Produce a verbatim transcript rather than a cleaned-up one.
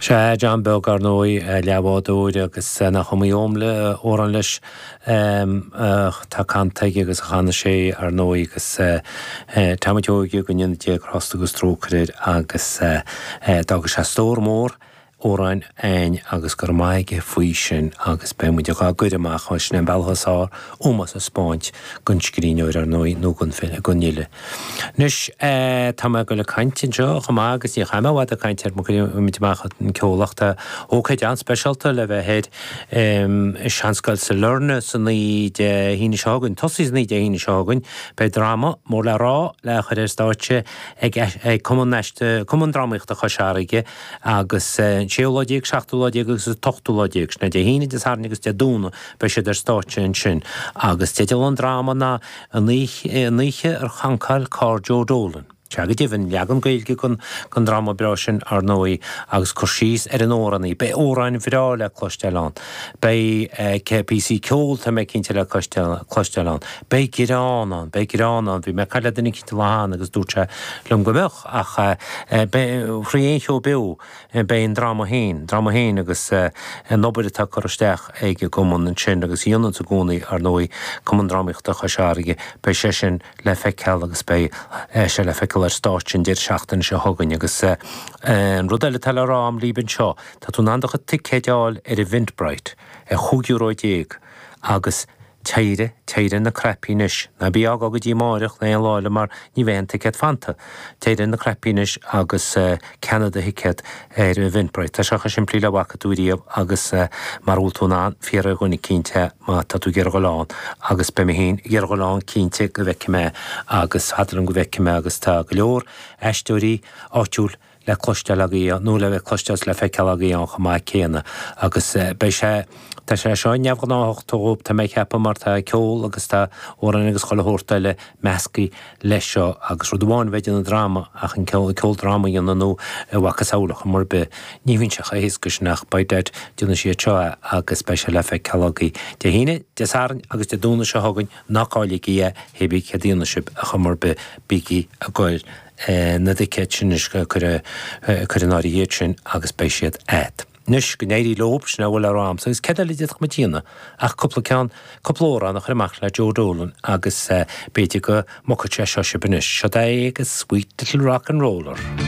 Sea, John Beag, ar ndóigh, leathbhádóir agus nach iomaí amhrán leis atá canta aige agus a chan sé, ar ndóigh, agus tá muid óige go ndéana Dia grásta agus trócaire air agus d'fhága sé stór mór amhráin againn agus go raibh maith aige faoi sin agus beidh muid dhá gcur amach, sin é an bealach is fearr ómós a 'spáint don scríbhneoir, ar ndóigh, nó don fhile, don fhile. Anois, tá mé ag dul ag caint anseo chomh maith agus ní chaithfidh mé i bhfad ag caint ar mo chuid amach an ceol ach tá ócáid an-speisialta le bheith ar i Seanscoil Sailearna san oíche Dé hAoine seo chugainn, tosaí san oíche Dé hAoine seo chugainn, beidh dráma mór le rá le chur ar stáitse ag ag Cumann Cumann Drámaíochta Chois Fharraige agus an séú lá déag, seachtú lá déag agus an t-ochtú lá déag, sin é Dé hAoine, Dé Sathairn agus Dé Domhnaigh, beidh siad ar stáitse ansin. Agus teideal an dráma ná An Oíche ar Chancáil Carr Joe Dolan. Sea go deimhin, leagan Gaeilge den den dráma breá sin, ar ndóigh, agus cur síos ar an amhránaí. Beidh amhráin bhreá le cloisteáil ann. Beidh píosaí ceoil, tá mé cinnte, le cloisteáil ann. Beidh greann ann, beidh greann ann. Bhí mé ag caint le duine eicínt an lá cheana agus dúirt sé liom go mbeadh, ach beidh, thrí aon cheo beo, Beidh an dráma féin, dráma féin agus an obair atá curtha isteach ag an gcumann ansin agus a dhéananns i gcónaí, ar ndóigh, Cumann Drámaíochta Chois Fharraige, beidh sé sin le feiceáil agus beidh sé le feiceáil ar stáitse an deireadh seachtaine seo chugainn. Agus an rud eile atá le rá agam libh anseo, tá tú in ann do chuid ticéid a fháil ar Eventbrite ar chúig euro déag agus Téire, téire na cnaipí anois. Ná bí á fhágáil go dtí amáireach nó aon lá eile mar ní bheidh aon ticéad fanta. Téire na cnaipí anois agus ceannaigh do thicéad ar Eventbrite. Tá sé chomh simplí le bhfaca tú riamh agus mara bhfuil tú in ann, fiafraigh de dhuine eicínt é má tá tú ag iarraidh dhul ann agus beidh mé féin ag iarraidh dhul ann cinnte go bhfeicfidh mé agus fada liom go bhfeicfidh mé agus tá go leor aisteoirí áitiúil le cloisteáil agaibh nó le cloisteáil is le feiceáil agaibh ann chomh maith céanna agus beidh sé, tá sé seo neamhghnáthach dóibh tá mé ag ceapadh mar tá ceol agus tá amhráin agus chuile shórt eile measctha leis seo agus rud amháin a bheith ag déanamh dráma ach an ceol, ceoldráma a dhéanamh nó a mhacasamhail ar chuma ar bith ní bhíonn sé chomh héasca sin ach by dad déanfaidh siad seo é agus beidh sé le feiceáil agaibh Dé hAoine, Dé Sathairn agus Dé Domhnaigh seo chugainn ná cailligí é, hé bí céard a dhéanfaidh sibh ar chuma ar bith bígí ag goil na dticéid sin anois, cuir in áirithe iad sin agus beidh siad a't. Anois, go n-éirí leob, sin a bhfuil le rá a'msa, agus céard eile a d'fhéadfadh muid a dhéanamh ach cúpla ceann, cúpla amhrán a chur amach le Joe Dolan agus b'fhéidir go mbogfaidh sé seo sibh anois. Seo é agus Sweet Little Rock and Roller.